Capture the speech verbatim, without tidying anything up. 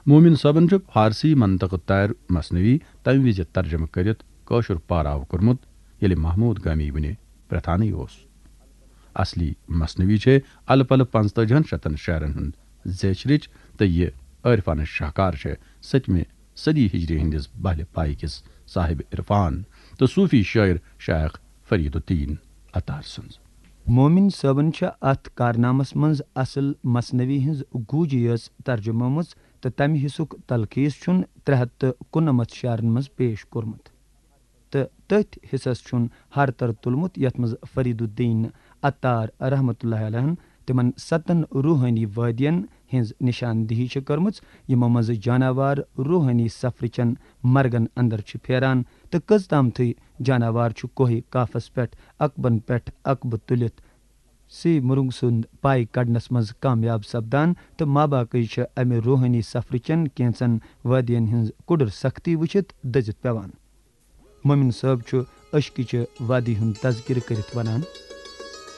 مومن صٲبن چھُ فارسی منطقہٕ تار مثنوی تمہِ وِزِ ترجمہٕ کٔرِتھ کٲشُر پاراو کوٚرمُت، ییٚلہِ محمود گامی وُنہِ پرٛتھانٕے اوس۔ اصلی مثنوی چھے الہٕ پلہٕ پنٛژتٲجِہن شتن شعرن ہُنٛد زیچھرٕچ، تہٕ یہِ عٲرفانہٕ شاہکار چھے ستمہِ صدی ہجری ہٕنٛدِس بہلہِ پایہِ کِس صاحب عرفان تہٕ صوفی شٲعر شیخ فرید الدین عطار سٕنٛز۔ مومن صٲبن چھےٚ اتھ کارنامس منٛز اصل مثنوی ہٕنٛز گوٗجی یٲژ ترجمٲومٕژ تہٕ تمہِ حصُک تلخیص چھُن ترٛےٚ ہتھ تہٕ کُننمتھ شعرن منٛز پیش کوٚرمُت۔ تہٕ تٔتھۍ حصس چھُن ہر تر تُلمُت، یتھ منٛز فرید الدین عطار رحمتہ اللہ علیہن تِمن ستن روحٲنی وادین ہٕنٛز نشاندہی چھِ کٔرمٕژ، یِمو منٛزٕ جاناوار روحٲنی سفرٕچن مرگن اندر چھِ پھیران تہٕ کٔژ تامتھٕے جاناوار چھُ کوہہِ کافس پٮ۪ٹھ عقبن پٮ۪ٹھ عقبہٕ تُلِتھ سی مرنگ سُنٛد پاے کڑنس منٛز کامیاب سپدان، تہٕ ماباقٕے چھِ امہِ روحٲنی سفرٕچن کینژن وادین ہٕنٛز کُڈٕر سختی وٕچھِتھ دٔزِتھ پٮ۪وان۔ مومن صٲب چھُ عشقٕچہِ وادی ہُنٛد تذکرٕ کٔرِتھ ونان۔